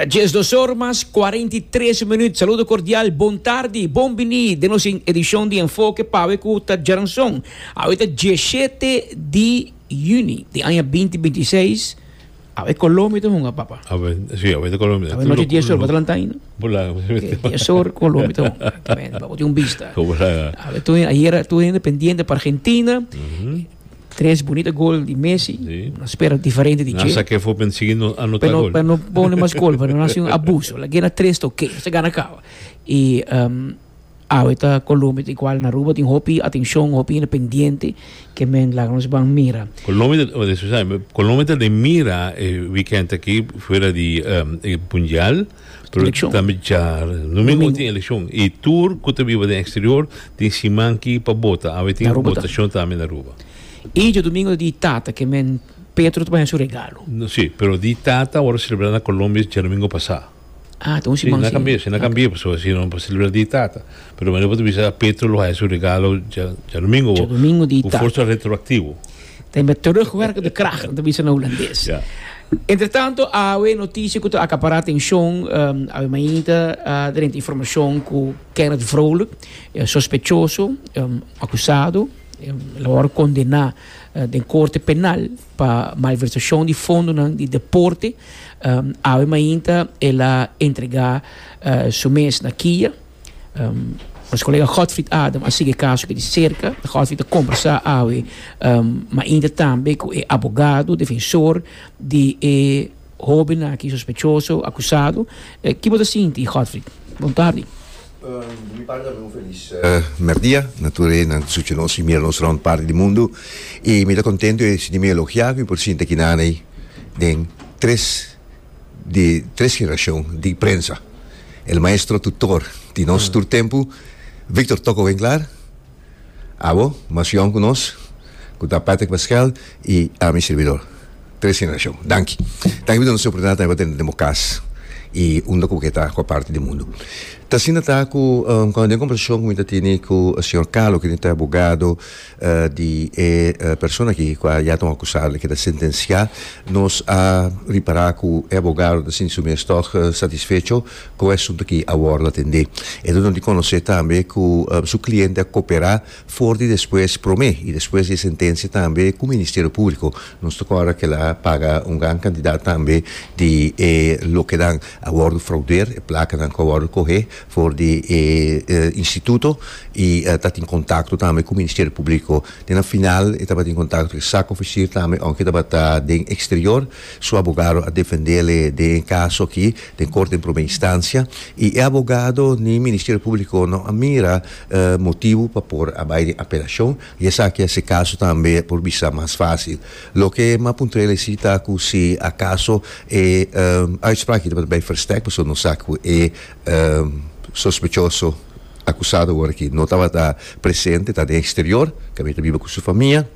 Ta 12 or mas 43 minuut. Saludo cordial, bon tardi, bon bini den nos edicion di Enfoke pawe cu ta djaranson. Awe ta 17 di juni di aña 2026. Awe Colombia ta hunga, papa. Awe, si, awe ta Colombia. Awe noche 10 or, bo ta lanta ainda? Bula. 10 or Colombia ta hunga. Pa bo tin un bista. Awe tur, ayera tur hende pendiente pa Argentina. Tres bunita gol di Messi. Sí. No spera diferente di Nan dje. saké for pen sigui no anota Pero, gol. pero no pone mas gol, pero no hasi un abuso. La gana tres ta oké, se gana caba. Y um, awe ta Colombia ta igual na Aruba tin hopi atencion, hopi hende pendiente ke men laga nos ban mira. Colombia ta, oh, disculpa, Colombia ta den mira e weekend aki fuera di um, e mundial. Pero Eleccion. tambe dja domingo tin eleccion. Y tur cu ta biba den exterior tin siman ki pa bota. Awe tin Na Aruba tambe. votacion tambe na Aruba. Y djadomingo ta di tata ke men Petro ta baña su regalo. No, si, pero di tata awor a celebra na Colombia djadomingo pasa. Ah, ta un Si, siman na si. cambia, si na cambia, pasobra si no pa celebra di tata. Pero manera bo ta bisa Petro lo haya su regalo dja djadomingo. Djadomingo di Cu tata. forsa retroactivo. Ta met terugwerkende kracht, nan ta bisa na Hulandes. Ja. Entretanto, awe noticia cu ta acapara atencion, um, awe mainta a drenta informacion cu Kenneth Vrolijk, eh, sospechoso, um, acusado, um, el a worde condena eh, den corte penal pa malversacion di fondonan di deporte. Um, awe mainta el a entrega eh, su mes na kia. Nos colega Godfried Adam a sigui e caso aki di cerca. Godfried a conversa awe mainta tambe cu e abogado defensor di e hoben aki sospechoso, acusado. Ki bo ta sinti, Godfried? Bon tardi. Di mi parti tambe un felis merdia na tur e nan sucha nos y mira nos rond parti di mundo. Y mi ta contento y sinti mi elogia cu mi por sinta aki nan ey den tres di tres generacion di prensa. El maestro tutor di nos tur tempu, Victor Toko Winklaar, abo, mas yong ku nos, ku ta Patrick Pascal i ami sirbidor. Tres generacion. Danki. Danki pa duna nos e oportunidad tambe pa tene den bo cas i unda ku bo ke ta ku parti di mundu. Ta asina ta ku cuando den conversacion ku mi ta tene ku señor Carlo, kende ta abogado, Di e persona aki ku a ya ta un akusado i keda sentensiá, nos a ripará ku e abogado ta sinti su mes tòg satisfecho ku e asuntu aki a wòrdu atendé. E ta duna di konosé tambe ku su kliente a koperá for di despues promé i despues di e sentensia tambe ku Ministerio Públiko. Nos ta kòrda ku el a paga un gran kantidat tambe di e lokenan a wòrdu fraudeer, e plakanan ku a wòrdu kohé for di e instituto y ta tin contacto tambe cu Ministerio Publico. Den na final e tabatin contacto cu e zaakofficier tambe aunke tabata den exterior. Su abogado a defendele den e caso aki den corte den prome instancia y e abogado ni Ministerio Publico no a mira motibo pa por a bay den apelacion y esaki a haci e caso tambe por bisa mas facil. Loke m'a puntr'el esi ta cu si acaso e uitspraak aki tabata bay versterk pasobra nos sa cu e sospechoso akusado awor aki no tabata presente, ta den exterior, kaminda ta biba ku su famia.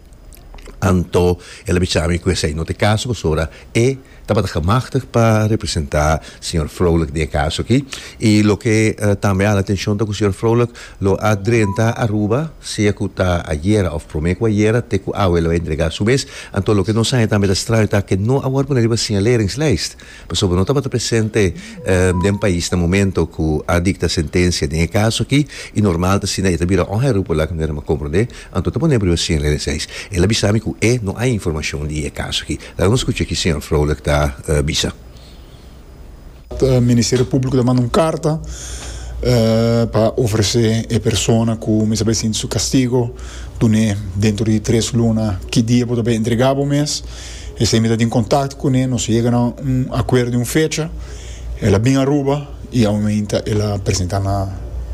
Anto el a bisa mi ku esei no ta e kaso pasobra e tabata gemachtig pa representá señor Vrolijk den e kaso aki. I loke tambe a hala atenshon ta ku señor Vrolijk lo a drenta Aruba sea ku ta ayera òf promé ku ayera te ku awe lo a entregá su mes. Anto loke nos haña tambe ta straño ta ke no a wòrdu pone riba siñaleringslijst. Pasobra no tabata presente den pais na momento cu a dicta sentencia den e caso aki y normal ta asina e ta bira onherroepelijk laga manera mi a comprende, anto ta pone riba cien ley seis. El a bisa mi cu e no hay informacion di e caso aki. Laga nos scucha ki señor Vrolijk ta bisa. Ministerio Públiko ta manda un karta pa ofresé e persona ku mester bai sinti su kastigo, dun'é dentro di tres luna ki dia bo ta bai entregá bo mes. Esei mi ta tin kontakto kuné, nos yega na un akuerdo di un fecha, el a bin Aruba i aumenta el a presentá na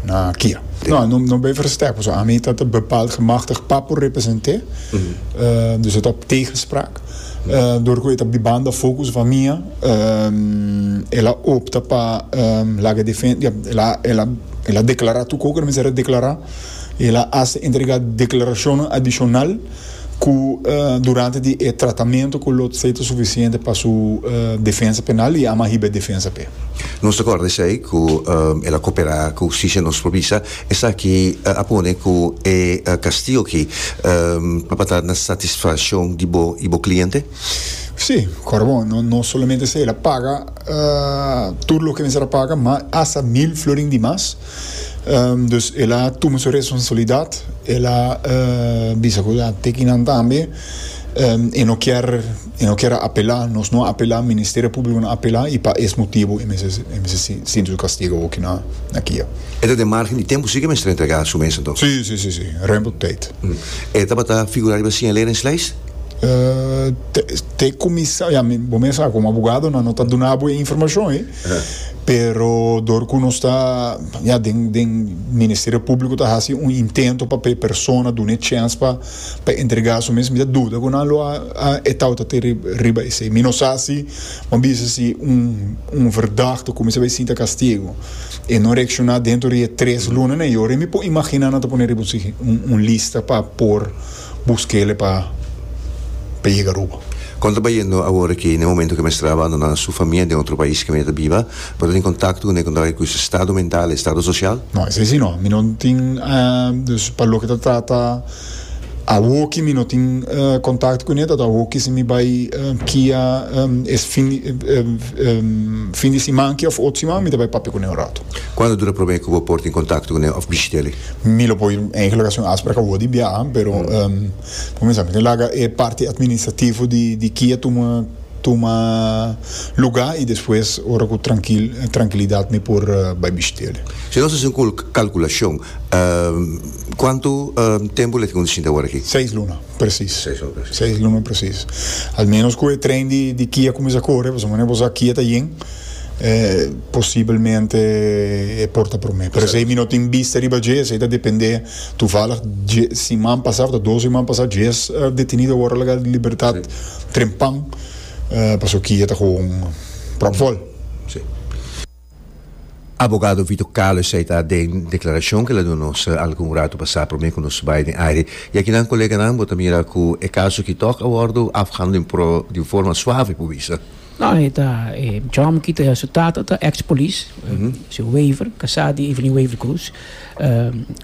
na kia. No, no no bai verstek, pasobra ami ta ta bepaald gemachtigd pa por represent'é, dus e ta op tegenspraak. Dor ku e ta bibando afó ku su famia, el a opta pa laga defen, ya, el a el a el a deklará tur kos ku el mester a deklará, el a hasta entregá deklarashonnan adishonal. Ku durante di e tratamentu ku lo esei ta sufisiente pa su defensa penal i ama hiba e defensa p'e. Nos ta kòrda esei ku el a koperá ku hustisia nos por bisa esaki a pone ku e kastigo aki tabata na satisfashon di bo i bo kliente? Sí, kòrda bon, no no solamente esei, el a paga tur loke mester a paga, ma asta mil florin di mas. Dus el a tuma su responsabilidat, el a bisa ku a teki nan tambe, e no kier e no kier a apelá, nos no a apelá, Ministerio Públiko no a apelá i pa es motibu e mester e mester sinti su kastigo awoki na na kia. E ta den margen di tempu si ke mester entregá su mes anto? Sí, sí, sí, sí, ruim op tijd. E tabata figurá riba siñaleringslijst? Te kuminsá, ya, bo mes sa, komo abogado nan no ta duna bo e informashon ei, pero dor ku nos ta, ya, den den Ministerio Públiko ta hasi un intento pa p'e persona duna e chèns pa pa entregá su mes, mi ta duda ku nan lo a e tabata te riba esei. Mi no sa si, bo a bisa si un un verdachte kuminsá bai sinta kastigo e no reakshoná dentro di e tres lunanan ei, ora mi por imaginá nan ta pone riba un un lista pa por. Buskele pa pa yega Aruba. Kon ta bayendo awor aki na e momento ku e mester a abandoná su famia den otro pais kaminda ta biba? Bo ta tin kontakto kuné kon ta ku su estado mental, estado sosial? No, esei si no. Mi no tin, dus pa loke ta trata awoki mi no tin kontakto kuné, ta awoki si mi bai kia es fin di fin di siman aki òf otro siman mi ta bai papia kuné un rato. Kuantu dura promé ku bo por tin kontakto kuné òf bishit'el? Mi lo por eigenlijk haci un afspraak awor di biaha, pero bo mester mi ta laga e parti administrativo di di kia tuma tuma luga y despues ora cu trankil trankilidad mi por bay bishit'el. Si nos haci un calculacion, cuanto tempo lo e tin cu sinta awor aki? Seis luna, precies. Seis luna precies. Seis luna precies. Al menos cu e trein di di kia cuminsa core, pasobra manera bo sa kia ta yen. Posibelmente e por ta promé. Pero esei mi no tin bista riba dje, esei ta dependé. Toevallig dje siman pasá òf ta dos siman pasá djes detenido a wòrdu laga di libertat trempan pasobra kia ta gewoon pròpvòl. Sí. Abogado Vito Calo esei ta den deklarashon ku el a duna nos algun ratu pasá promé ku nos bai den aire. I akinan koleganan bo ta mira ku e kaso aki tòg a wòrdu afgehandeld di un forma suave por bisa. No, e ta e John ki ta su tata ta ex polis, su Wever, kasá di Evelyn Wever Croes.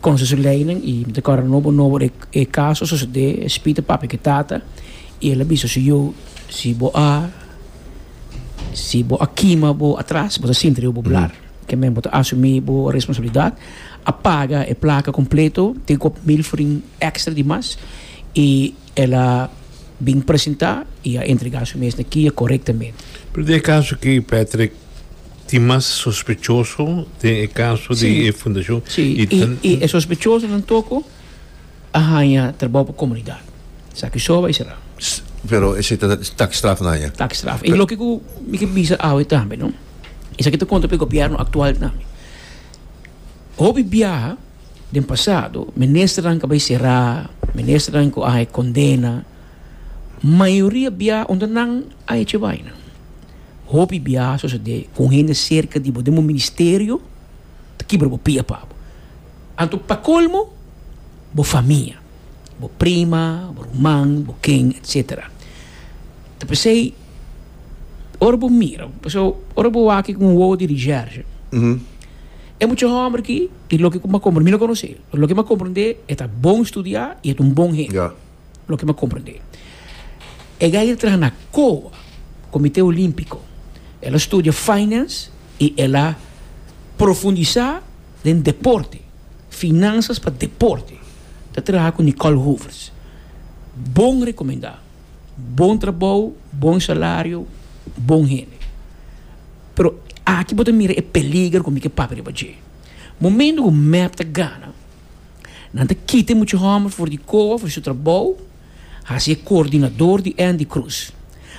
Konosé su leinan i mi ta kòrda nobo nobo e e kaso a sosodé, e spita papia ku e tata i el a bisa su yu, si bo a si bo a kima bo atras bo ta sinti riba bo blar. Ke men bo ta asumí bo responsabilidat. A paga e plaka kompleto, tin ku 1000 florin èkstra di mas i el a bin presentá i a entregá su mes na kia korektamente. Pero den e kaso aki, Patrick, tin mas sospechoso den e kaso di e fundashon? Sí, i e sospechosonan toko a haña trabou pa komunidat. Esaki so bai será. Pero esei ta taakstraf nan haña? Taakstraf. I loke ku mi ke bisa awe tambe, no? Esaki ta konta pa e gobièrnu aktual tambe. Hopi biaha. Den pasado, ministernan ku a bai será, ministernan ku a haña kondena, mayoria bia unda nan a hecha e baina. Hopi bia a sosodé ku un hende serka di bo den bo ministerio ta kibra bo pia pa bo. Anto pa kolmo, bo famia, bo prima, bo ruman, bo ken, etsetera. Ta p'esei ora bo mira, pasobra ora bo wak ku un wowo di reshèrshe, E mucha hòmber aki, i loke ku mi a komprendé, mi no konosé, pero loke mi a komprendé, e ta bon studiá i e ta un bon hende. Ja. Loke mi a komprendé. E gai a traha na COA, Komité Olímpiko. El a studia finance i el a profundisá den deporte, finansas pa deporte. Ta traha ku Nicole Hoevers. Bon rekomendá. Bon trabou, bon salario, bon hende. Pero aki bo ta mira e peliger ku mi ke papia riba dje. Momento ku mep ta gana, nan ta kita e mucha hòmber for di koa, for di su trabou, hasi e koordinador di Andy Cruz,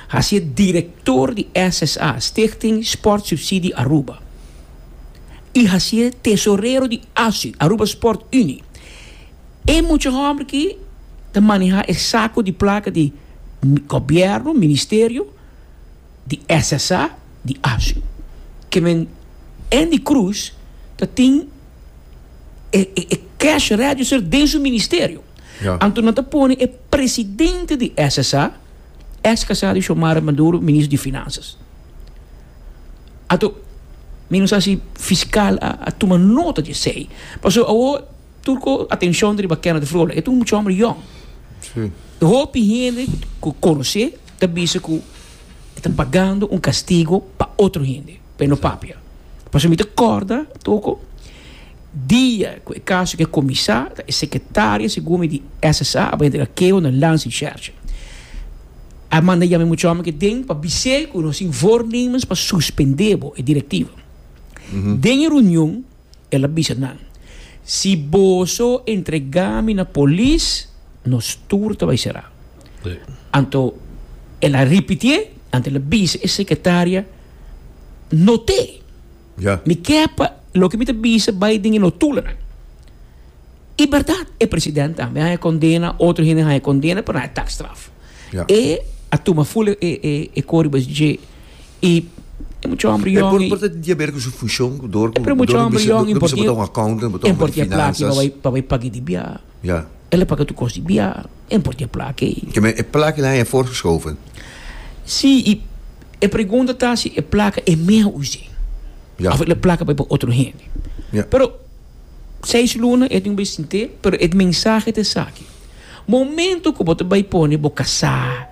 hasi e direktor di SSA, Stichting Sport Subsidie Aruba, i hasi e tesorero di ASU, Aruba Sport Unie. E mucha hòmber aki ta manehá e sako di plaka di gobièrnu, ministerio, di SSA di ASU. Ke men Endy Croes ta tin e e cash register den su ministerio. Ja. Anto nan ta pone e presidente di SSA, ex casá di Xiomara Maduro, ministro di Finanzas. Anto mi no sa si fiscal a a tuma nota di esey. Pasobra awor tur ko atencion ta riba Kenneth Vrolijk. E ta un mucha homber yong. Sí. Hopi hende ku konosé ta bisa ku. E ta pagando un castigo pa otro hende, pa e no papia. Pasobra mi ta corda toko dia cu e caso ke cuminsa, ta e secretaria segun mi di SSA a bay entrega keho na Landsrecherche. A manda yama e mucha homber ke den pa bis'é cu nos tin voornemens pa suspende bo, e directiva. Den e reunion el a bisa nan, Si boso entregá mi na polis, nos tur ta bai será. Anto el a ripitié, anto el a bisa e sekretaria, Not'é! Mi ke pa loke mi ta bisa bai den e notulanan. I bèrdat, e president tambe a haña kondena, otro hende a haña kondena, pero nan a taakstraf. E a tuma ful e koriba dje i e mucha homber E yong por i por ta di haber ku su funshon ku dor e ku pero mucha dor homber bisa yong dor bisa importia bo ta un accountant bo ta un homber di importia plaki pa finanzas. bai pa bai paga di bia. Ja. El a paga tur kos di bia, e importia plaki ei. Ke men e plaki la haña voorgeschoven. Si i e pregunta ta si e plaka e mea us'é Ja. of e plaka bai pa otro hende. Ja. Pero seis luna e tin ku bai sint'é pero e mensahe ta esaki. Momento ku bo ta bai pone bo kasá,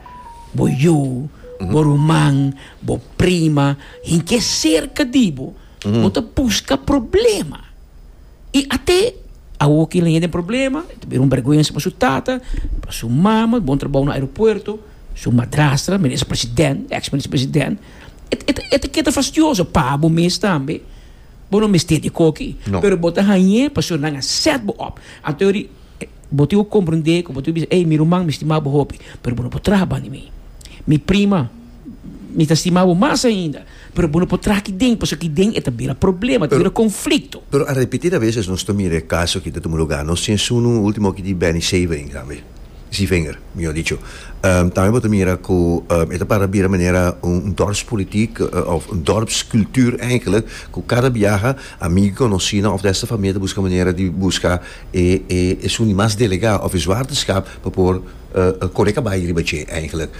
bo yu, bo ruman, bo prima, hinke serka di bo, bo ta buska problema. I ate awor ki el den problema, e ta bira un bèrgwensa pa su tata, pa su mama, bon trabou na aeropuerto, su madrastra, minister president, ex minister president, e ta keda fastioso pa bo mes tambe. Bo no mester di koki, pero bo ta hañ'é pasobra nan a sèt bo òp. Anto Bo tin ku komprendé ku bo tin ku bisa, ey, mi ruman, mi stima bo hopi, pero bo no por traha banda di mi. Mi prima, mi ta stima bo mas ainda, pero bo no por traha aki den, pasobra aki den e ta bira problema, e ta bira konflikto. Pero a repetida veces nos ta mira e kaso aki ta tuma lugá. Nos tin esun ultimo aki di Benny Severing tambe, Sievinger, mihor dicho. Tambe bo ta mira ku e ta para bira manera un dorpspolitiek of un dorpscultuur eigenlijk, ku kada biaha amigo i konosínan of desta famia ta buska manera di buska E e esun di mas delegá of e zwaarteschap pa por kore kabai riba dje eigenlijk.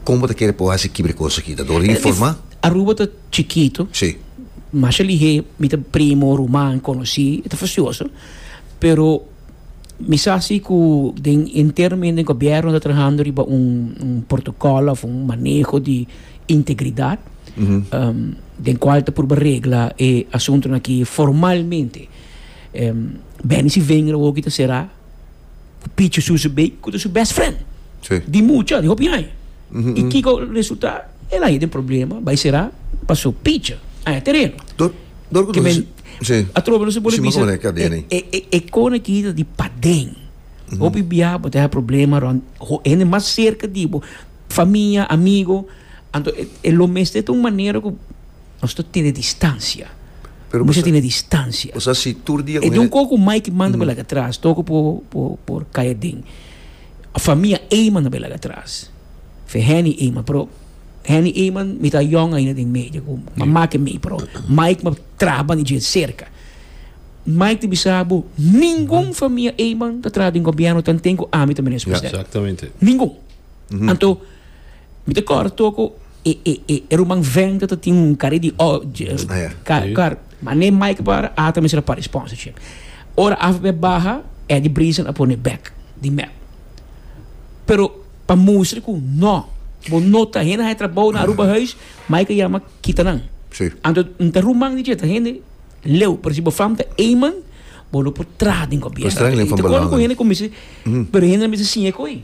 Kon bo ta kere por hasi kibra e kos aki? Ta dor di informá? Aruba ta chikito. Sí. Masha lihé mi ta primo, ruman, konosí, e ta fastioso. Pero mi sa si ku den internamente den gobièrnu ta trahando riba un un protokòl òf un maneho di integridat den kual ta purba regla e asuntunan aki formalmente. Benny si vinger awor ki ta sera ku Pichi Susu bay ku ta su best friend. Sí. Di mucha, di hopi aña. I kiko resulta? El a haya den problema, bay sera paso Pichi a haya tereno. Dor, dor ku Ke men, sí. atrobe nos a pone Sí, bisa, ma komo e, e, e, e kona ki ta di paden. Hopi bia bo ta haya problema rond ho hende mas serka di bo, famia, amigo, anto e, e lo mester ta un manera ku Nos ta tene distancia. Pero Mester tene distancia. Osea si tur dia E di un koko Mike manda bai laga atras, toko por por por kai aden. Famia Eman a bai laga atras. Fe Henny Eman, pero Henny Eman mi ta yong ainda den medio ku mama ke mi, pero Mike ma traha banda dje serka. Mike ta bisa bo ningun famia Eman ta traha den gobierno tanten ku ami ta minister president. Exactamente. Ningun. Anto Mi ta kòrda toko e e e e ruman venta ta tin un kare di o kar kar ma ne Mike para ata mester a para sponsorship. Ora avp baha Eddie Briesen a pone bek di mep. Pero pa mustra ku no bo no ta hende haña trabou na Aruba Huis Mike a yama kita nan. Anto n ta ruman di dje ta hende leu pero si bo fam ta Eman bo no por traha den gobierno. I ta kòrda ku hende kuminsha pero hende a mester siña e koe.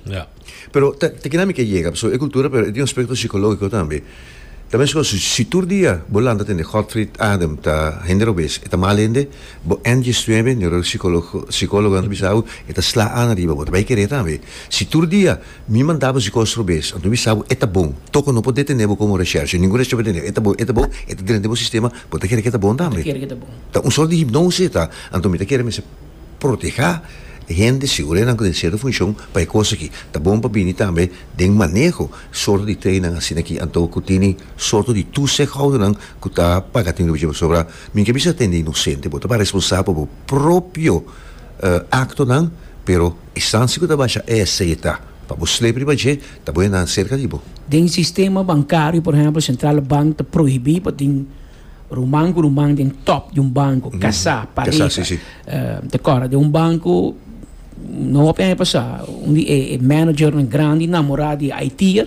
Pero ta ta kina mi ke yega, pasobra e kultura pero e tin un aspekto sikológiko tambe. Ta meskos si si tur dia bo lanta tende Godfried Adam ta hende robes, e ta mal hende, bo N diesnuebe, neurosikologo sikólogonan ta bisa bo, e ta sla an ariba bo, ta bai kere tambe. Si tur dia mi manda bo si kos robes, anto mi bisa bo e ta bon, toko no por detene bo komo reshèrshe, ningun reshèrshe por detene bo, e ta bon, e ta bon, e ta drenta den bo sistema, bo ta kere ke ta bon tambe. Ta un sort di hipnose e ta, anto mi ta kere mester. Protehá hende sigur enan ku den sierto funshon pa e kos aki. Ta bon pa bini tambe den maneho sorto di treinnan asina aki anto ku tini sorto di toezichthoudernan ku ta paga tin riba dje pasobra mi ke bisa tende inosente bo ta para responsabel pa bo propio aktonan pero instansia ku ta basha esei ta pa bo slep riba dje ta bo enan serka di bo. Den sistema bankario por ehempel Centrale Bank ta prohibí pa tin Ruman ku ruman den top di un banko, kasá, pareha. Ta kòrda den un banko no hopi aña pasá, un di e managernan grandi namorá di e IT'er.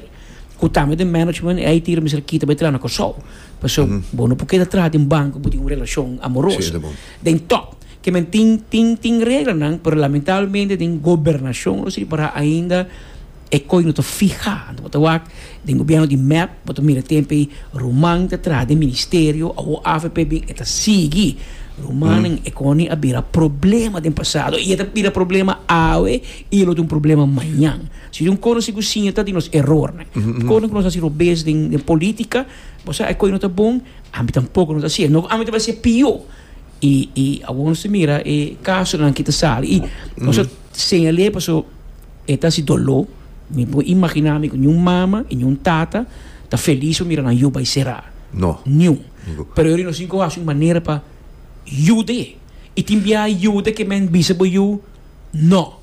Ku tambe den management e IT lo mester kita bai traha na Kòrsou. Pasobra bo no por keda traha den banko bo tin un relashon amoroso. Den tòp. Ke men tin tin tin reglanan pero lamentablemente den gobernashon nos ripará ainda e koi no ta fiha. Anto bo ta wak den gobièrnu di mep bo ta mira tempu ei ruman ta traha den ministerio awor avp bin e ta sigui. Rumannan e koni a bira problema den pasado i e ta bira problema awe i e lo ta un problema mañan. Si un kono si ku siña ta di nos erornan. Kono ku nos hasi robes den den politica, bo sa e koe no ta bon, ami tampoko no ta hasié. No ku ami ta bai hasié pió. I i awor nos ta mira e kasonan ki ta sali i nos a señal'é paso e ta hasi doló. Mi por imaginá mi ku niun mama i niun tata ta felis pa mira nan yu bai será. No. Niun. Pero yori nos tin ku hasi un manera pa yud'é. I tin bia yuda ke men bisa bo yu no.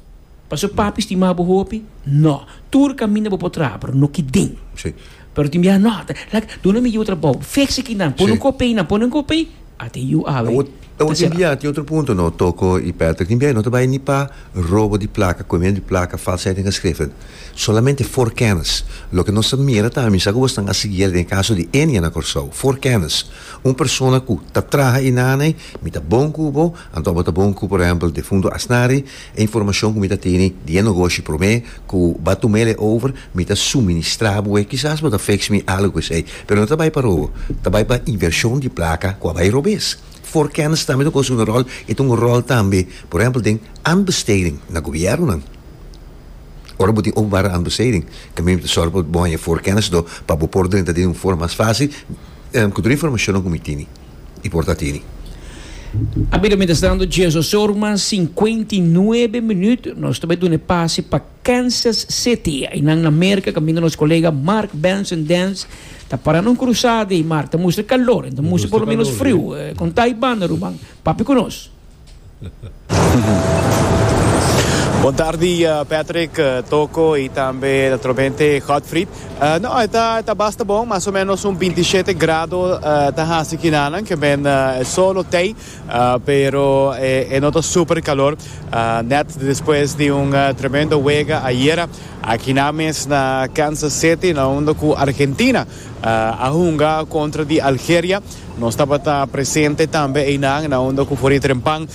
Paso papi stima bo hopi? No. Tur kaminda bo por traha, pero no ki den. Sí. Pero tin biaha no, ta like duna mi yu trabou, fix aki nan, pone un kopi einan, pone un kopi ei, ata e yu awe Awor, ta awor tin sera. biaha tin otro punto no, Toko i Patrick, tin biaha no ta bai ni pa robo di plaka, komiendo di plaka, falsheid den geschriften. Solamente voorkennis. Loke nos ta mira ta, mi sa ku bosnan a sigui el den e kaso di Enia na Kòrsou, voorkennis. Un persona ku ta traha einanei, mi ta bon ku bo, anto abo ta bon ku por ehèmpel defunto Asnari, E informashon ku mi ta tene di e nogoshi promé ku bo a tum'el e over, mi ta suministrá bo e. Kisas bo ta fix mi algu ku esei, pero no ta bai pa robo, ta bai pa invershon di plaka ku a bai robes. Voorkennis tambe ta kosa un ròl, e ta un ròl tambe, por ehèmpel den aanbesteding na gobièrnunan. Ora bo tin openbare aanbesteding, tambe mi ta sòru pa bo haña voorkennis do pa bo por drenta den un forma mas fásil ku tur e informashonnan ku mi tene. i por ta tini. A bira mientrastanto Jesus Orman 59 minuut nos ta bai duna e pase pa Kansas City einan na Merca kaminda nos kolega Mark Benson Dance ta para na un krusada ei Mark ta mustra kalor en ta mustra por lo menos friu kon ta ei banda ruman papia ku nos. Bon tardi Patrick, Toko y tambe naturalmente Godfried. No, e ta, e ta basta bon, mas o menos un 27 grado ta haci kinanan, ke men e sol lo tey, pero e no ta super calor. Net despues di un tremendo wega ayera akinan mes na Kansas City, na unda cu Argentina a hunga contra di Algeria. Nos tabata presente tambe einan na unda ku for di trempan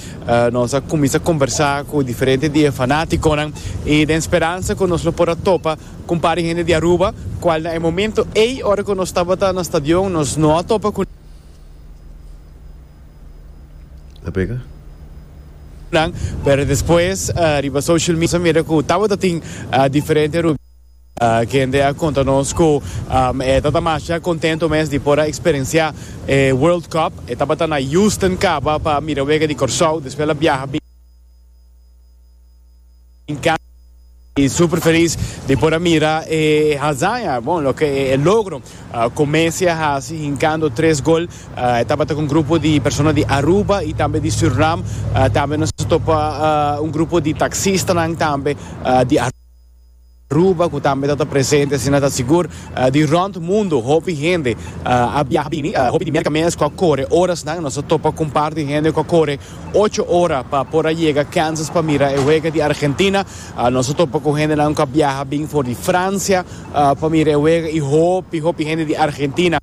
nos a kuminsá kombersá ku diferente di e fanátikonan i den speransa ku nos lo por a topa ku un par di hende di Aruba kual na e momento ei ora ku nos tabata na stadion nos no a topa ku nan pero despues riba social media nos a mira ku tabata tin diferente Kende a konta nos ku e ta ta masha kontento mes di por a eksperensiá e World Cup. E tabata na Houston kaba pa mira wega di Kòrsou, despues el a biaha bin Kansas i super felis di por a mira e hazaña, bon loke e logro ku Messi a hasi hinkando tres gol. E tabata ku un grupo di persona di Aruba i tambe di Surinam. Tambe nos a topa un grupo di taksistanan tambe di Aruba. Aruba cu tambe ta ta presente asina ta sigur di rond mundo hopi hende a biaha bini hopi di Merca mes cu a core orasnan nos a topa cu un par di hende cu a core ocho ora pa por a yega Kansas pa mira e wega di Argentina nos a topa cu hendenan cu a biaha bin for di Francia pa mira e wega y hopi hopi hende di Argentina.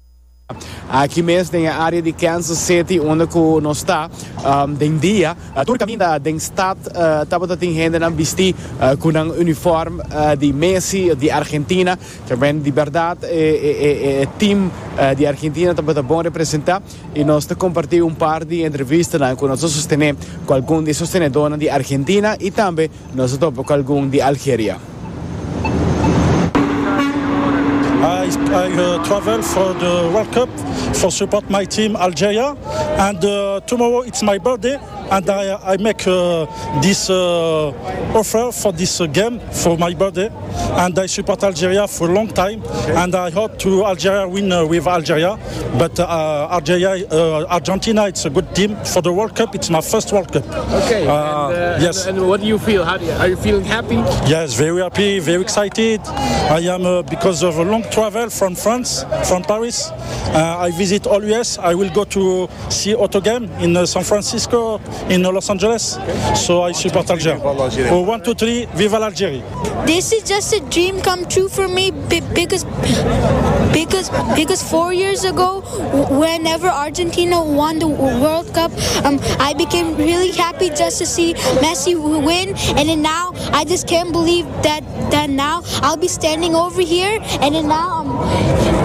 Aki mes den e area di Kansas City unda cu nos ta den dia, tur caminda den stad tabata tin hendenan bisti cu nan uniform di Messi di Argentina. Tamen di berdad e team di Argentina tabata bon representa y nos ta comparti un par di entrevistanan cu nos a sostene cu algun di e sostenedornan di Argentina y tambe Nos a topa cu algun di Algeria. I travel for the World Cup for support my team Algeria and tomorrow it's my birthday and I make this offer for this game for my birthday and I support Algeria for a long time and I hope to Algeria win with Algeria but Algeria Argentina it's a good team for the World Cup it's my first World Cup. Okay. And, yes. And what do you feel? How do you, are you feeling happy? Yes, very happy, very excited. I am uh, because of a long travel from France, from Paris. Uh, I visit all US. I will go to see Auto Game in uh, San Francisco. in Los Angeles. So I support Algeria. 1, 2, 3, viva l'Algérie. This is just a dream come true for me because because because 4 years ago whenever Argentina won the World Cup um, I became really happy just to see Messi win and then now I just can't believe that that now I'll be standing over here and then now um,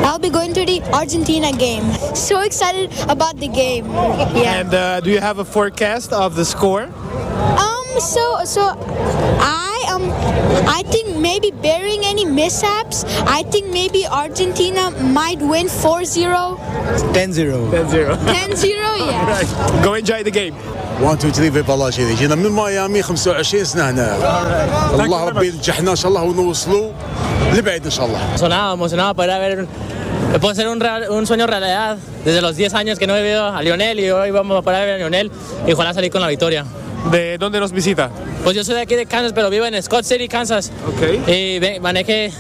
I'll be going to the Argentina game. So excited about the game. Yeah. And uh, do you have a forecast of the score? Um so so I um I think maybe bearing any mishaps, I think maybe Argentina might win 4-0. 10-0. 10-0. 10-0, yeah. Right. Go enjoy the game. 1 2 3 viva l'Algérie جينا من ميامي 25 سنه هنا الله ربي ينجحنا ان شاء الله ونوصلوا لبعيد ان شاء الله Emocionado, emocionado para ver puede ser un, real, un sueño realidad. Desde los 10 años que no he visto a Lionel y hoy vamos a parar a ver a Lionel y ojalá salir con la victoria. ¿De dónde nos visita? Pues yo soy de aquí de Kansas, pero vivo en Scott City, Kansas. Okay. Y ve, manejé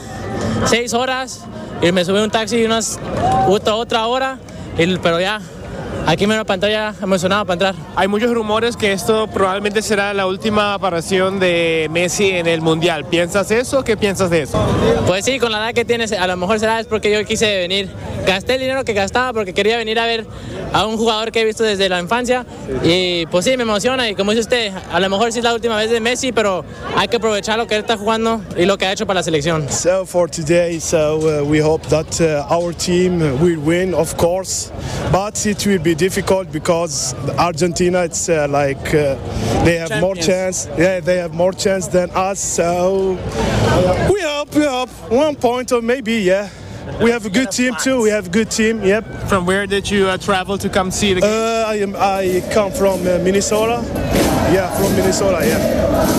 6 horas y me subí un taxi unas otra, otra hora, y, pero ya Aquí me una pantalla emocionado para entrar. Hay muchos rumores que esto probablemente será la última aparición de Messi en el Mundial. ¿Piensas eso? ¿Qué piensas de eso? Pues sí, con la edad que tienes, a lo mejor será es porque yo quise venir. Gasté el dinero que gastaba porque quería venir a ver a un jugador que he visto desde la infancia. Y pues sí, me emociona. Y como dice usted, a lo mejor sí es la última vez de Messi, pero hay que aprovechar lo que él está jugando y lo que ha hecho para la selección. So for today, so we hope that our team will win, of course, but it will be difficult because Argentina, it's like they have more chance. Yeah, they have more chance than us. So we hope, we hope one point or maybe, yeah. We have a good team too. We have a good team. Yep. From where did you travel to come see the game? I am. I come from Minnesota. Yeah, from Minnesota. Yeah.